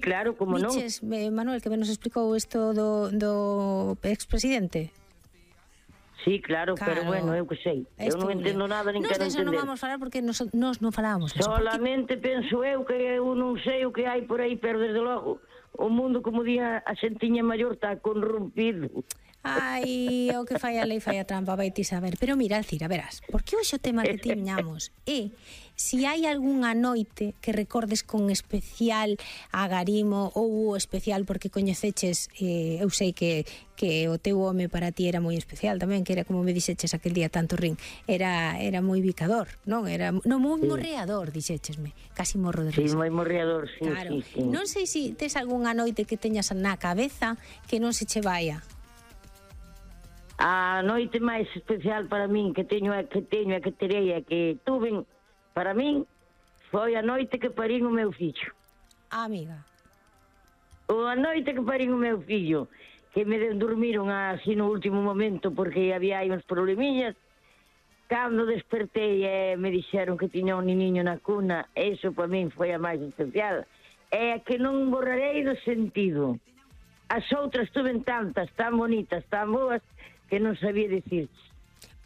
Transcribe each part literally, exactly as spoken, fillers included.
claro, como non. Viches, eh, Manuel, que nos explicou isto do, do expresidente? Sí, claro, claro, pero bueno, eu que sei. Eu non entendo nada, nin quero entender. Nos non vamos falar porque nos, nos non falábamos. Solamente porque... penso eu que eu non sei o que hai por aí, pero desde logo o mundo, como día a xentiña maior, está corrompido. Ai, o que fai a lei fai a trampa, vai ti saber. Pero mira, Alcira, verás, porque hoxe o tema que tiñamos é si hai algunha noite que recordes con especial agarimo ou especial porque coñeceches, eh, eu sei que, que o teu home para ti era moi especial tamén, que era como me dixeches aquel día tanto rin, era era moi bicador, non? Era non moi sí. morreador, dixéchesme, casi morro de risa. Sí, moi morreador, sí, claro. sí, sí. Non sei se si tes algunha noite que teñas na cabeza que non se che vaia. A noite máis especial para min que teño que teño que terei é que tuven para min foi a noite que parín o meu fillo. Ah, amiga. O a noite que parín o meu fillo, que me dormiron así no último momento porque había aí uns problemillas. Cando despertei e me dixeron que tiña un niño na cuna, eso para min foi a máis especial. É que non borrarei do sentido. As outras tuven tantas, tan bonitas, tan boas, que non sabía dicir.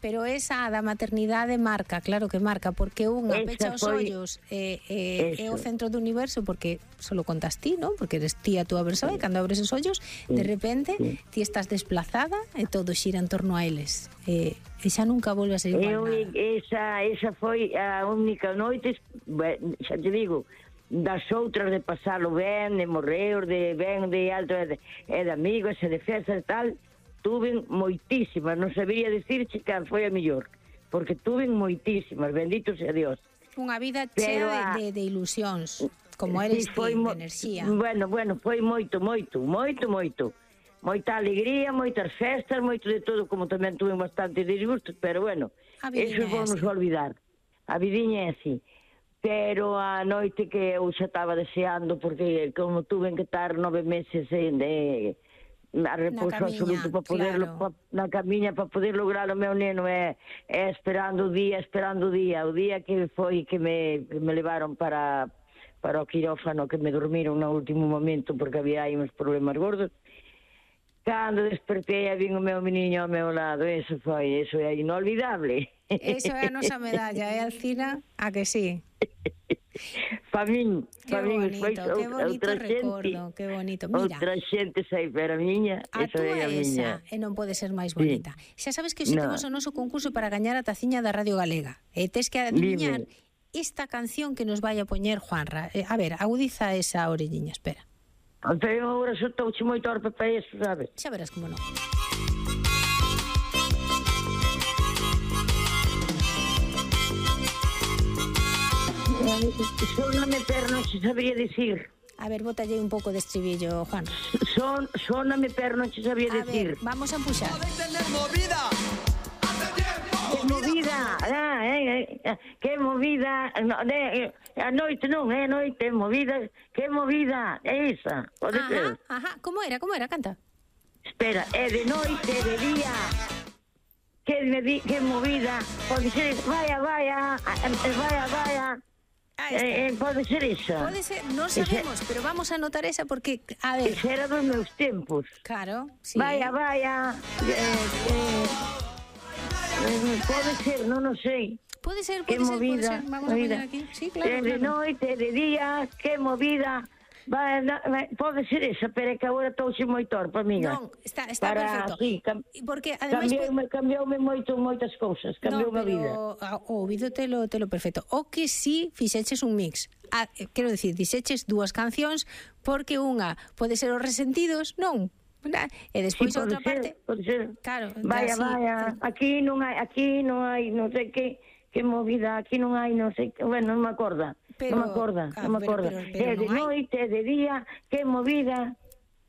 Pero esa da maternidade marca, claro que marca, porque unha esa pecha os foi... ollos é, é, é o centro do universo, porque solo contas ti, non? Porque eres ti a túa persoa, sí. E cando abres os ollos, sí. De repente, sí. Ti estás desplazada e todo xira en torno a eles. E, e xa nunca volve a ser igual Eu, nada. Esa, esa foi a única noite, xa te digo, das outras de pasalo ben, de morrer, de ben, de alto, e de, de amigos, e de festas e tal, tuven moitísimas, non sabería dicirche que foi a mellor, porque tuven moitísimas, bendito sea Dios. Unha vida chea a... de, de, de ilusións, como eres ti, de enerxía. Bueno, bueno, foi moito, moito, moito, moito. Moita alegría, moitas festas, moito de todo, como tamén tuve bastante disgustos, pero bueno, eso vamos a olvidar. A vidiña é así. Pero a noite que eu xa estaba deseando, porque como tuve que estar nove meses de... a repouso absoluto para poderlo, claro. pa, na camiña para poder lograr o meu neno é, é esperando o día, esperando o día o día que foi que me, que me levaron para, para o quirófano, que me dormiron no último momento porque había aí uns problemas gordos. Cando despertei e vin o meu meniño ao meu lado, eso foi, eso é inolvidable. Eso é a nosa medalla, é, Alcina? A que sí? Pa min, pa min foi outra xente, que bonito. Mira, outra xente sei, pero a miña, esa é a miña. E non pode ser máis bonita. Sí. Xa sabes que hoxe no. temos o noso concurso para gañar a taciña da Radio Galega. E tes que adiviñar Dime. esta canción que nos vai a poñer Juanra. Eh, a ver, agudiza esa orelliña, espera. Pero agora só touche moito orpe para eso, sabes? Xa verás como non. Sóname, pero non se sabría dicir. A ver, bótalle un pouco de estribillo, Juan. Son, sóname, pero non se sabría a dicir. Ver, vamos a empuxar. Que movida, ah, eh, eh, que movida, no, de, a noite non, é eh, noite, movida, que movida, é esa, pode ajá, ser. Ajá, como era, como era, canta. Espera, é de noite, de día, que, me di, que movida, pode ser, vaya, vaya, vaya, vaya. Eh, eh, pode ser esa. Pode ser, non sabemos, ese, pero vamos a anotar esa porque, a ver... Esa era dos meus tempos. Claro, sí. Vaya, vaya, eh, eh, eh, pode ser, non o sei. Pode ser, pode ser, movida, pode ser. Vamos movida. a poner aquí. Sí, claro, de, de claro. noite, de día, que movida... Va, va, pode ser esa, pero é que agora touxe moi torpe, amiga. Non, está, está Para, perfecto. Sí, cam, porque ademais cambioume, cambioume moito, moitas cousas, cambioume no, a vida. O ouvido telo, telo perfecto. O que si fixeches un mix. Ah, quero dicir, dixeches dúas cancións porque unha pode ser Os Resentidos, non? E despois sí, outra ser, parte. Pode ser. Claro, vaya, así, vaya, aquí non hai, aquí non hai, non sei que que movida, aquí non hai, non sei que, bueno, non me acorda. Pero, non me acorda, ah, non me acorda. Pero, pero, pero é de noite, é de día, que movida.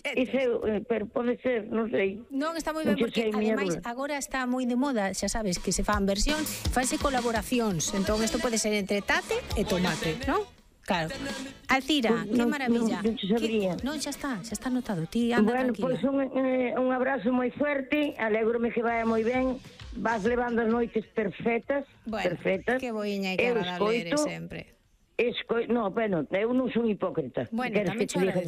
Ese, pero pode ser, non sei. Non, está moi ben, porque ademais agora está moi de moda, xa sabes, que se fan versións, fanse colaboracións, entón isto pode ser entre Tate e Tomate, non? Claro. Alcira, pues, que no, maravilla. Non se sabría. Non, xa está, xa está anotado. Ti anda bueno, tranquila. Pois pues un, eh, un abrazo moi fuerte, alégrome que vaya moi ben. Vas levando as noites perfectas, bueno, perfectas. Que boiña e que agradable eres sempre. Esco... No, bueno, eu non son hipócrita. Bueno, tamén cho agradezo.